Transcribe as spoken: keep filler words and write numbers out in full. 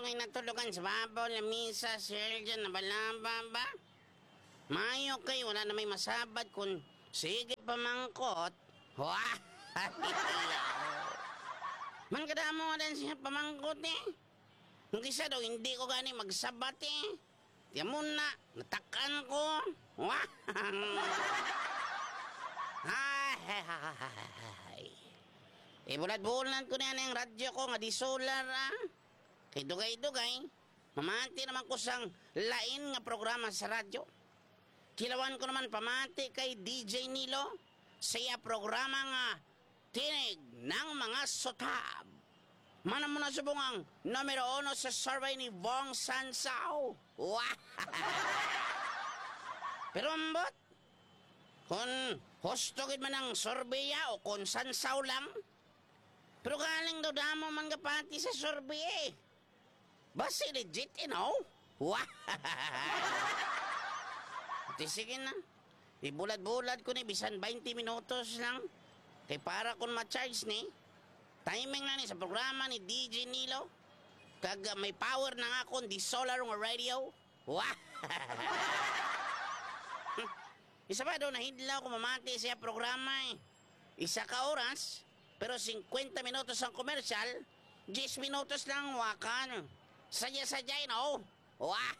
Ay, natulugan sa babaw, lamisa, sir, dyan, nabalaba ba? Mayo kay wala na may masabat kung sige pamangkot. Wah! Man kadamo din siya pamangkot eh. Kung kisa daw, hindi ko gani magsabat eh. Tiyan mo na, natakan ko. Wah! Ay, ay, ay, ay, ay. Ibulad-bulad ko na yan ang radyo ko nga di solar ah. Kay dugay-dugay, mamati naman ko sang lain nga programa sa radyo. Kilawan ko naman pamati kay D J Nilo sa iya programa nga Tinig ng mga Sutab. Mana mo na subong ang numero uno sa survey ni Bong Sansao. Wah! Pero ambot, kung husto gid man ang survey ya o kung Sansao lang, pero galing daw damo man gapati sa survey eh. Basi legit, you know? Wah! Di sige na. Ibulad-bulad ko ni bisan twenty minutos lang. Kay para kung ma-charge ni, timing na ni sa programa ni D J Nilo. Kag uh, may power na nga akong di solar nga radio. Wah! Isa pa daw, nahidlaw ko mamati siya programa eh. Isa ka oras, pero fifty minutos ang komersyal, ten minutos lang wakan. Sadya-sadya, no? Wah!